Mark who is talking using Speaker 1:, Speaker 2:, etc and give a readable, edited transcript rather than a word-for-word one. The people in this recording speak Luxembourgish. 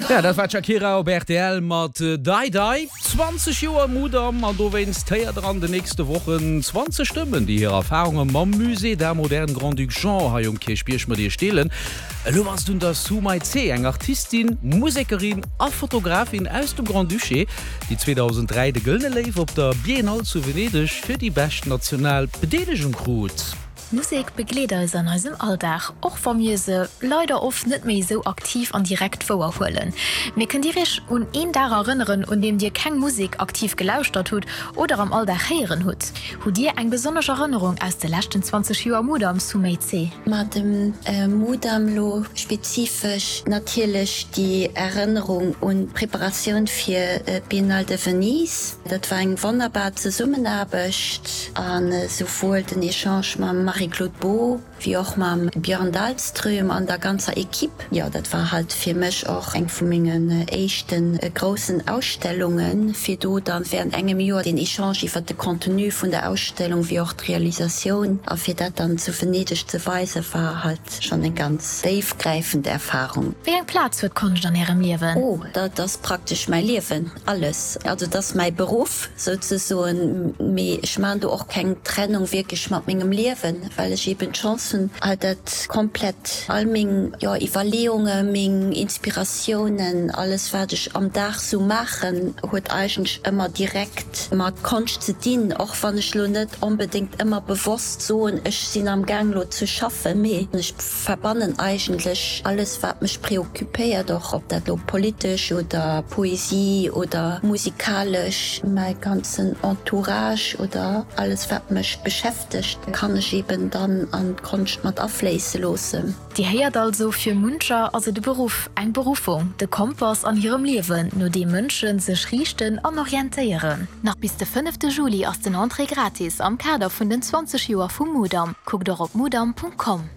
Speaker 1: Ja, dat war d'Shakira op rtl mat Dai Dai. 20 Joer Mudam an dowéinst héiert der an de nächste Wochen 20 Stëmmen, déi hir Erfarunge mam Musée d'Art Moderne Grand-Duc Jean hei um Kierchbierg mat iech deelen. Elo ass et un der Sue Maitze, eng Artistin, Musekerin a Fotografin aus dem Grand-Duché, déi 2003 de Gëllene Léiw op der Biennale zu Venedeg fir déi bescht national Bedeelegung krut.
Speaker 2: Musek begleet eis an eisem Alldag, och wa mir se leider oft net méi esou aktiv an direkt wouer huelen. Mee kënnt Dir Iech un een Dag erënneren, un deem Dir keng Musek aktiv gelauschtert hutt oder am Alldag héieren hutt? Hutt Dir eng besonnesch Erënnerung aus de leschten 20 Joer Mudam Sumei-Tse?
Speaker 3: Ma dem Mudam lo spezifesch natierlech déi Erënnerung un d'Preparatioun fir d'Biennale de Venise. Dat war eng wonnerbar Zesummenaarbecht an esouwuel den Echange mam Marie-Claude Beaud wéi och mam Björn Dahlström an der ganzer Equipe. Jo, dat war halt fir mech och eng vu mengen éischte groussen Ausstellungen, fir do dann während engem Joer den Echange iwwert de Contenu vun der Ausstellung wéi och d'Realisatioun a fir dat dann zu Venedeg ze weisen, war halt schonn eng ganz déifgräifend Erfahrung.
Speaker 2: Wéi eng Plaz huet d'Konscht an Ärem Liewen?
Speaker 3: Oh, dat ass praktesch mäi Liewen. Alles. Also et ass mäi Beruff souzesoen, mee ech maachen do och keng Trennung wierklech mat mengem Liewen, well ech eben d'Chance hunn, halt dat komplett, all meng, jo, Iwwerleeungen, meng Inspiratiounen, alles wat ech am Dag sou maachen, huet eigentlech ëmmer direkt mat Konscht ze dinn, och wann ech lo net onbedéngt ëmmer bewosst soen, ech sinn am Gaang lo ze schaffen, mee ech. Verbannen eigentlech alles wat mech preoccupéiert, och ob dat lo politesch oder Poesie oder musikalesch, mäi ganzen Entourage oder alles wat mech beschäftegt, kann ech eben dann an d'Konscht mat afléisse loossen.
Speaker 2: Dir héiert also, fir muncher ass et e Beruff, eng Beruffung, de Kompass an hirem Liewen, no deem Mënsche sech riichten an orientéieren. Nach bis de fënnefte Juli ass den Entrée gratis am Kader vun den 20 Joer vum Mudam. Kuckt och op mudam.com.